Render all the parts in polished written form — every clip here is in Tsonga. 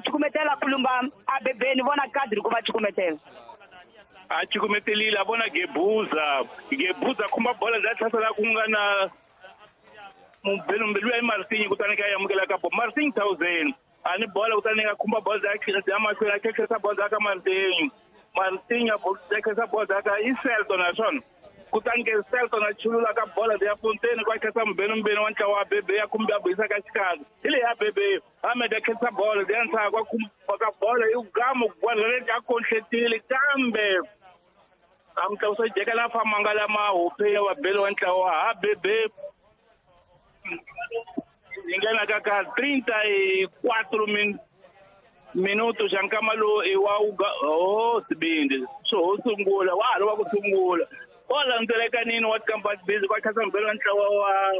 Cukumetela kulumba abebeni vona kadri ku va cukumetela. A cukumetelile a vona Gebuza. Gebuza khumba bola bya tlhasela ku nga na mubelu ya Martinho kutani ka amukela ka bo Martinho 1000. Ani bola kutani ka khumba bola bya mahlweni a khekhesa bola ka Martinho. Martinho a khekhesa bola ka Iselton naswona. Kutani ke Selton a chulula ka bola ya Fontaine kwa khetsa mbenu wa ntlawa wa Bebe ya khumba ya buyisa ka xikarhi. Hi leyi ya Bebe Ahmed a khetsa bola ya ntsha kwa khumba ka bola yi gamu gwalele a konhletile kambe a mutlakusa jeka la famanga la mahupe ya vabeli wa ntlawa ha Bebe yi nghena ka ka 34 minutos xa nkama lowu i wa oh sibindi swo ho sungula wa ha ri wa ku sungula wa landzelekanini wa Kampani Busy kwa khatsa mbelo wa ntlawa wa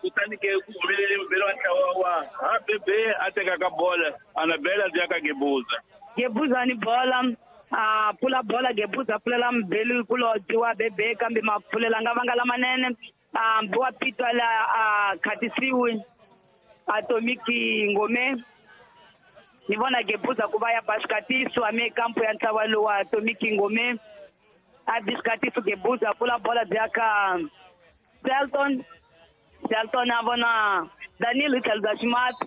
kutani ke ku humelele mbelo wa ntlawa wa ha Bebe a teka ka bola Anabela ya ka Gebuza. Gebuza ni bola a pula bola Gebuza pfulela mbelu kulodzi wa Bebe kambe mapfulela nga vanga lamanene a mbiwa pitwa la a khatisiwi Atomiki Ngome. Ni vona Gebuza ku va ya ba xikatiso ame kampo ya ntlawa lowu wa Atomiki Ngome. A biskatiso Gebuza pula bola bya ka Selton. Selton a vona Danilo tlhelo bya ximati.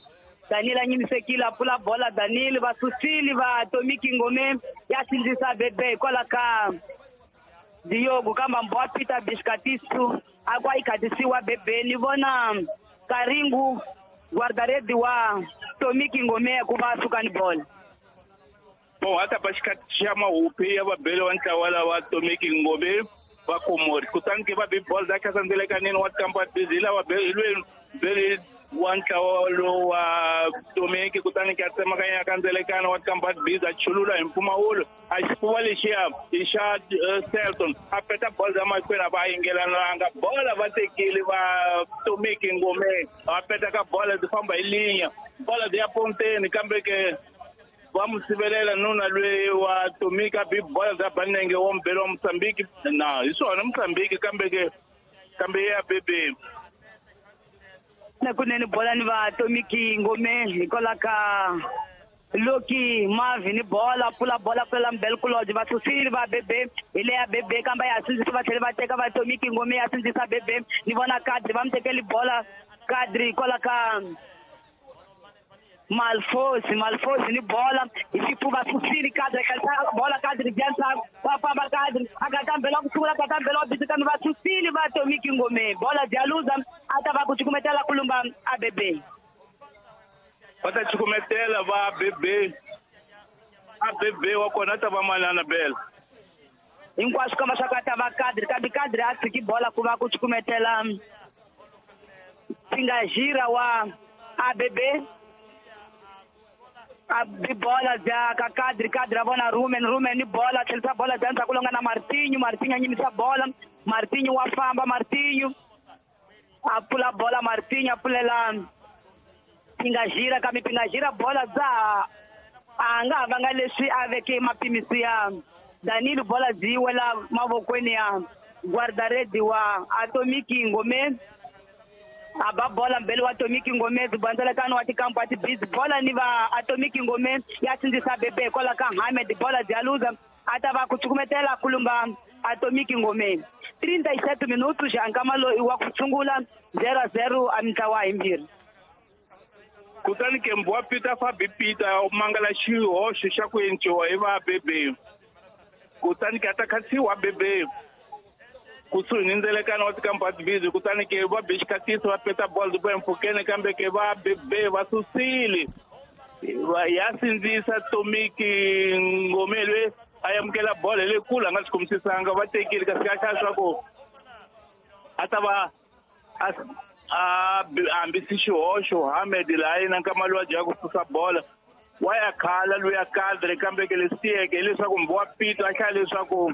Danilo a nyimisekile a pula bola Danilo va susile va Atomiki Ngome ya sindzisa Bebe hikwalaho ka Diogo kambe mbo Peter biskatiso a kwa yi khatisiwa Bebe. Ni vona Karingu guardaredi wa Tomiki Ngome ku va suka ni bola. Bom, a ta ba xikati xa mahupi ya vabeli wa ntlawa lawa Tomiki Ngome va Komori. Kutani ke va bi bola za khatsa ndzelekanini wa Kampani Busy lava beli wa ntlawa lowu wa Tomiki kutani ke a tsemakanya ka ndzelekano wa Kampani Busy a chulula hi mpfumawulo a xifuva lexiya i xa Selton a peta bola ya mahlweni a va yingelananga bola va tekile va Tomiki Ngome va peta ka bola byi famba hi linya bola byi ya ponteni kambe ke va mu sivelela nuna loyi wa Tomiki a bi bola bya Banenge wa mbelo wa Mozambique na hi swona Mozambique kambe ke kambe ya Bebe na kunene bola ni va Tomiki Ngome hikwalaho ka Loki Mavi ni bola pula bola pula mbelu kulodzi va susile va Bebe hi leya Bebe kambe ya sindzisa va tlhela va teka va Tomiki Ngome ya sindzisa Bebe. Ni vona Kadri va mu tekeli bola Kadri hikwalaho ka Malfosi ni bola hi xifuva susile Kadri khalisa bola Kadri bya va famba Kadri a ka tambela ku sungula ka tambela wa busy kambe va susile va Tomiki Ngome bola bya luza a ta va ku cukumetela kulumba a Bebe. Va ta cukumetela va Bebe a Bebe wa kona ta va manana bela hinkwaswo kamba swa ka ta va Kadri kambe Kadri a tshiki bola ku va ku cukumetela Singajira wa a Bebe. A bi bola bya ka Kadri Kadri a vona Rumen ni bola tlhelisa bola bya ndzhaku longa na Martinho. Martinho a nyimisa bola Martinho wa famba Martinho a pfula bola Martinho a pfulela Pingajira kambe Pingajira bola bya a nga ha vanga leswi a veke mapimisi ya Danilo bola byi wela mavokweni ya guardaredi wa Atomiki Ngome. A ba bola mbele wa Tomiki Ngome zibandzelekano wa tikampo wa tibizi bola ni va Atomiki Ngome ya sindzisa Bebe hikwalaho ka Hamed bola bya luza a ta va ku cukumetela kulumba Atomiki Ngome. 37 minutos xa nkama loyi wa ku sungula 0-0 a mintlawa himbirhi. Kutani ke mbwa Peter Fabi Peter mangala xihoxo xa ku enciwa hi va Bebe kutani ke a ta khatsiwa Bebe kusuhi ni ndzelekano wa Tikampani Busy kutani ke va bi xikatiso va peta bola byi empfhukeni kambe ke va Bebe va susile ya sindzisa Tomiki Ngome loyi a amukela bola hi lekulu a nga swi kumisisanga va tekile kasi ka hlaya swa ku a ta va a hambisi xihoxo Hamed laha yena nkama lowu a dyaka ku susa bola wa ya khala loyi Kadri kambe ke leswi tiyeke hileswaku mbiwa Pito a hlaya leswaku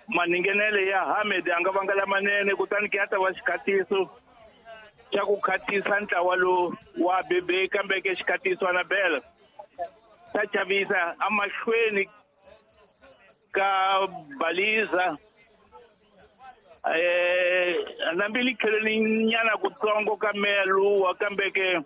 maningenele ya Hamed a nga vanga lamanene kutani ke ya ta va xikhatiso xa ku khatisa ntlawa lowu wa Bebe kambe ke xikhatiso Anabela xa chavisa amahlweni ka Baliza na mbili kheleni nyana kutsongo ka meya luwa kambe ke